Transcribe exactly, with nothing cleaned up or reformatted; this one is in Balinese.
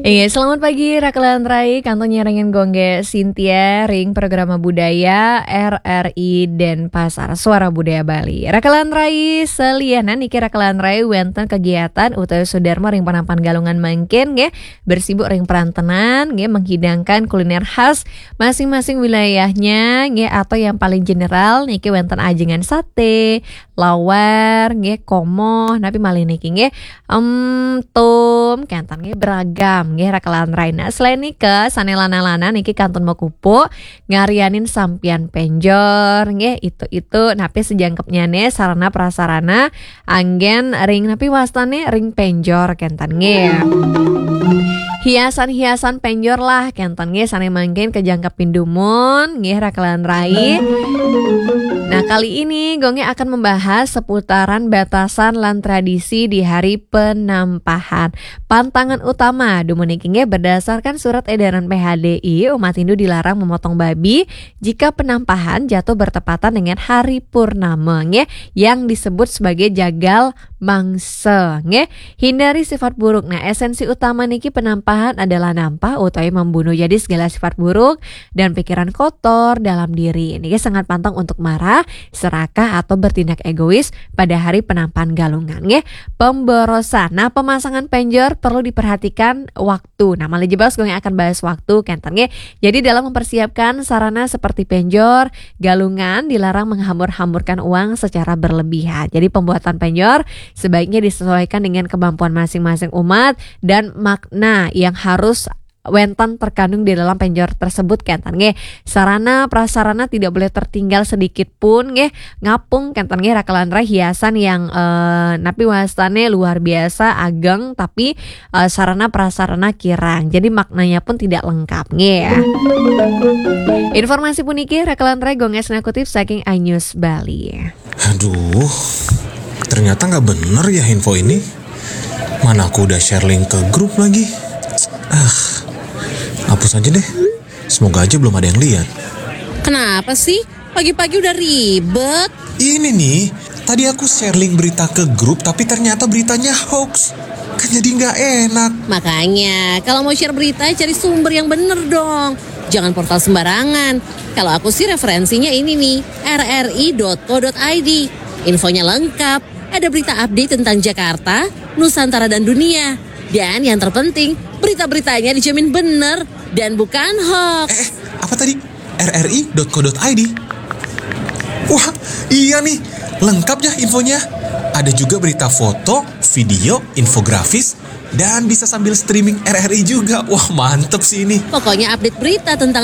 Iya, selamat pagi Rakelan Rai, kantun nyarengin gung gé Cynthia ring Programa Budaya R R I Denpasar, Suara Budaya Bali. Rakelan Rai, salianan niki Rakelan Rai wénten kegiatan utawi sudarma ring Penampan Galungan mangkin nggih, bersibuk ring perantenan nggih, menghidangkan kuliner khas masing-masing wilayahnya nggih, atau yang paling general niki wénten ajengan sate, lawar nggih, komoh, napi malih niki nggih, em, tum, kénten nggih, beragam nggih, Rakelan Rai. Nah, selain nika, sané lanang-lanang niki kantun makupuk ngaryanin sampian penjor nggih, itu-itu napi sajangkepnyané sarana prasarana anggén ring napi wastané ring penjor kénten nggih. Hiasan-hiasan penjor lah kénten nggih, sané mangkin kajangkepin dumun nggih, Rakelan Rai. Nah, kali ini gung gé akan membahas seputaran batasan lan tradisi di hari penampahan. Pantangan utama dumun niki nggih, berdasarkan surat edaran P H D I, umat Hindu dilarang memotong babi jika penampahan jatuh bertepatan dengan hari purnama nggih, yang disebut sebagai jagal mangsa nggih. Hindari sifat buruk. Nah, esensi utama niki penampahan adalah nampah utawi membunuh. Jadi segala sifat buruk dan pikiran kotor dalam diri niki sangat pantang untuk marah, serakah atau bertindak egois pada hari penampahan Galungan nggih. Pemborosan. Nah, pemasangan penjor perlu diperhatikan waktu. Nah, malih jebos gung gé akan bahas waktu kénten nggih. Jadi dalam mempersiapkan sarana seperti penjor, Galungan dilarang menghambur-hamburkan uang secara berlebihan. Jadi pembuatan penjor sebaiknya disesuaikan dengan kemampuan masing-masing umat dan makna yang harus wénten terkandung di dalam penjor tersebut kénten nggih. Sarana prasarana tidak boleh tertinggal sedikit pun nggih. Ngapung kénten nggih, Rakelan Rai, hiasan yang eh, napi wastané luar biasa ageng tapi eh, sarana prasarana kirang. Jadi maknanya pun tidak lengkap nggih. Informasi puniki Rakelan Rai gung gé kutip saking iNews Bali. Aduh, ternyata nggak bener ya info ini. Mana aku udah share link ke grup lagi. Ah, hapus aja deh. Semoga aja belum ada yang lihat. Kenapa sih? Pagi-pagi udah ribet. Ini nih, tadi aku share link berita ke grup tapi ternyata beritanya hoax. Kan jadi nggak enak. Makanya, kalau mau share berita, cari sumber yang bener dong. Jangan portal sembarangan. Kalau aku sih referensinya ini nih, rri.co.id. Infonya lengkap, ada berita update tentang Jakarta, Nusantara dan dunia. Dan yang terpenting, berita-beritanya dijamin bener dan bukan hoax. Eh, apa tadi? rri.co.id. Wah, iya nih, lengkap ya infonya. Ada juga berita foto, video, infografis, dan bisa sambil streaming R R I juga. Wah, mantep sih ini. Pokoknya update berita tentang